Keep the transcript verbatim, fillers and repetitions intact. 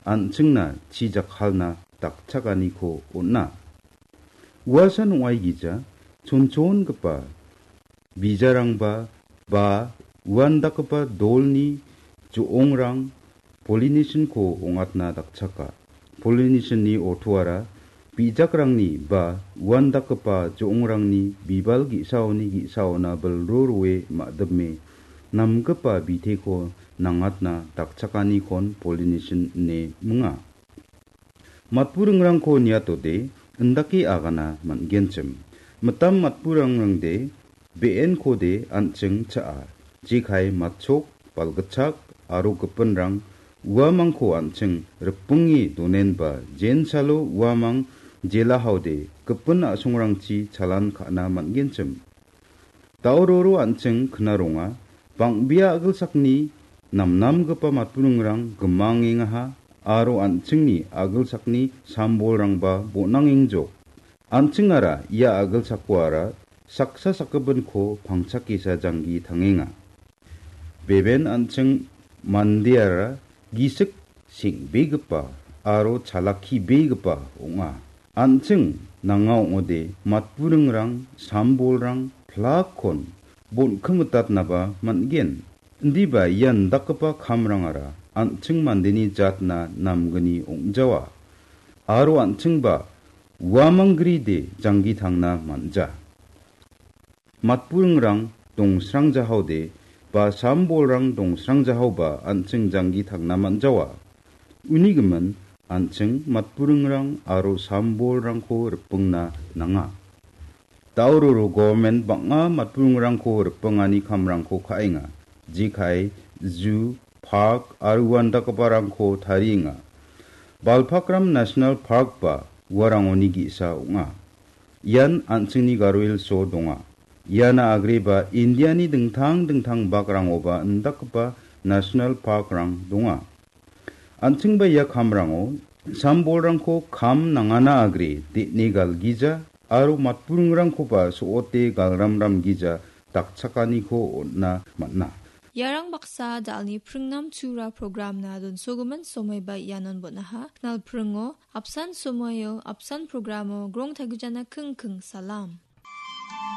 an·chingna chi jakkalna dakchakaniko on·a. Uasan ong·aigija chonchongipa bijarangba ba uandakgipa dolni jo·ongrang pollination-ko ong·atna dakchaka. Pollination-ni ortoara bijakrangni ba uandakgipa jo·ongrangni bibal ge·saoni ge·saona bilro roe ma·dime namgipa biteko nangatna dakchakanikon pollination ine minga. Matburingrangko niatode indake agana man·genchim. Mitam matburingrangde be·enkode an·ching cha·a. Jekai matchok, balgitchak aro gipinrang uamangko an·ching rikbinge donenba jensalo uamang jelahaode gipin a·songrangchi chalan ka·na man·genchim. Daororo an·ching knaronga, bang·bea a·gilsakni namnamgipa matburingrang gimangengaha aro an·chingni a·gilsakni sambolrangba bon·angengjok. An·chingara ia a·gilsakoara saksa sakgipinko pangchakesa janggi tangenga. Beben an·ching mandeara gisik seng·begipa aro chalakkibegipa ong·a. An·ching nanga ong·ode matburingrang, sambolrang, plakkon bon·kimitatnaba man·gen. Indiba ian dakgipa kamrangara an·ching mandeni jatna namgni ong·jawa. Aro an·chingba uamang gride janggi tangna man·ja. Matburingrang dongsrangjahaode ba sambolrang dongsrangjahaoba an·ching janggi tangna man·jawa. Uni gimin an·ching matburingrang aro sambolrangko ripingna nanga. Daororo government bang·a matburingrangko ripingani kamrangko ka·enga. Jekai, zoo, park aro uandakgiparangko tarienga. Balpakram National Park ba uarangoni ge·sa ong·a. Ian an·chingni Garo Hills-o donga. Iana agreba Indiani dingtang dingtang bakrangoba indakgipa national park-rang donga. An·chingba ia kamrango sambolrangko kam nangana agre de·ne galgija aro matburingrangkoba so·ote galramramgija dakchakaniko on·na man·a. Iarang baksa da·alni pringnam tura programna donsogimin somoiba ianon bon·aha. Knal pringo, apsan somoio, apsan programo, grong tagijana kingking salam.